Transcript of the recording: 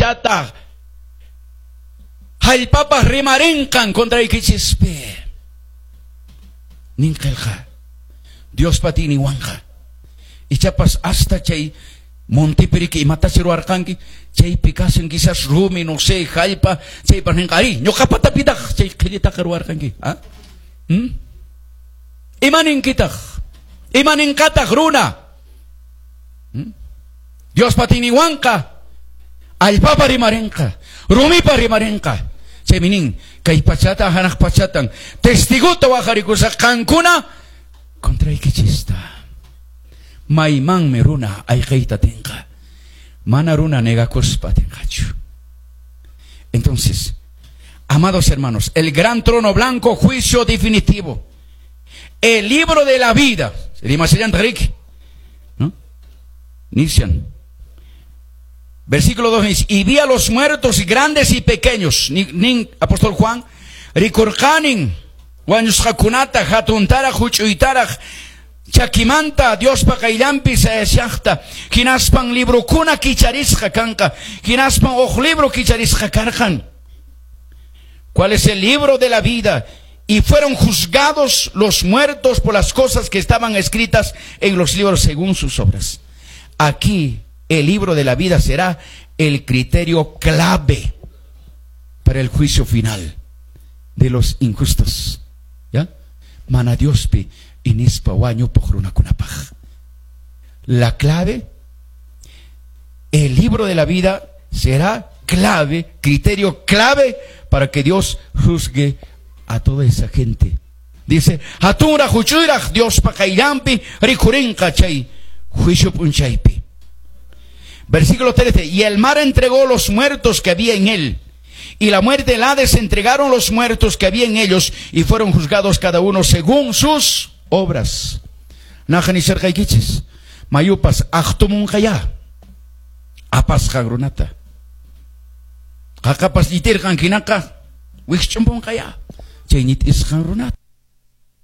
pachata hallpapas rimarinqan contraykichispi. Nin qillqa Diospa atiyninwanqa. Ichapas hasta chay montepi riki imatachi ruwarqanki, chaypi kashan quizás rumi, no sé, hallpa, chaypas ninqa, ari, ñuqapatapitaq chay qhillitaqa ruwarqanki. ¿Ah? ¿Mm? Ima ninkitaq? Ima ninqataq runa? ¿Mm? Diospa atiyninwanqa allpapa rimarinqa, rumipa rimarinqa. Chaymi nin, kay pachata hanaq pachatan testigota waqarikusaq qankuna contraykichista. Maymanmi runa ayqiyta atinqa. Mana runa negakuspa atinqachu. Entonces, amados hermanos, el gran trono blanco, juicio definitivo. El libro de la vida. Rimasillanta riki, ¿no? Nishan. Versículo 2 dice, y vi a los muertos grandes y pequeños. Nin, apóstol Juan, rikurqanin, wañusqakunata, hatuntaraq, huch'uytaraq, chakimanta, Diospa qayllanpi sayashaqta, hinaspan librokuna kicharisqa kanqa, hinaspan huk libro kicharisqa karqan. ¿Cuál es el libro de la vida? Y fueron juzgados los muertos por las cosas que estaban escritas en los libros según sus obras. Aquí el libro de la vida será el criterio clave para el juicio final de los injustos. ¿Ya? Mana Diospi inispa wañupuq runakunapaq. La clave, el libro de la vida será clave, criterio clave para que Dios juzgue a toda esa gente. Dice, hatunraq huch'uyraq Diospa qayllanpi rikhurinqa chay juicio p'unchaypi. Versículo 13, y el mar entregó los muertos que había en él, y la muerte y el Hades entregaron los muertos que había en ellos, y fueron juzgados cada uno según sus obras. Naqa nisharqaykichis, mayupas aqtumunqayá, apasqan runata. Qaqapas ñitirqan hinaqa, wikch'umpunqayá, chay ñit'isqan runata.